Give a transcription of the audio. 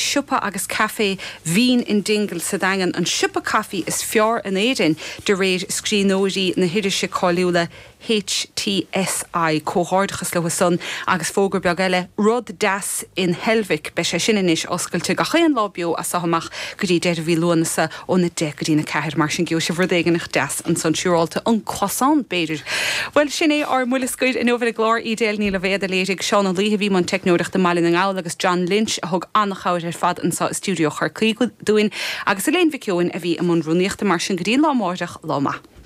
siopa agus caife Bhean in Dingle sa Daingean an siopa caife is fearr in Éirinn de réir scríbhneoirí na hirise cáiliúla HTSI. Comhghairdeachas leo san agus fógra beag eile, Rud Deas in Heilbhic, beidh sé sin anois oscailte gach aon lá beo as seo amach go dtí deireadh mhí Lúnasa óna 10 go dtí'n 4. Mar sin gheobhaidh sibh rud éigin deas ansan siúrálta, an croissant b'fhéidir. Bhuel sin é ár mbuille scoir inniu ar an gclár. Edel Ní Loibhéad a léirigh, Seán Ó Laoithe a bhí i mbun teicneoireachta i mBaile na nGall agus John Lynch a thug an-chabhair ar fad anso i stiúideo Chorcaí dúinn agus Elaine Mhic Eoin a bhí i mbun rúnaíochta. Mar sin go dtí an lá amáireach, lá maith.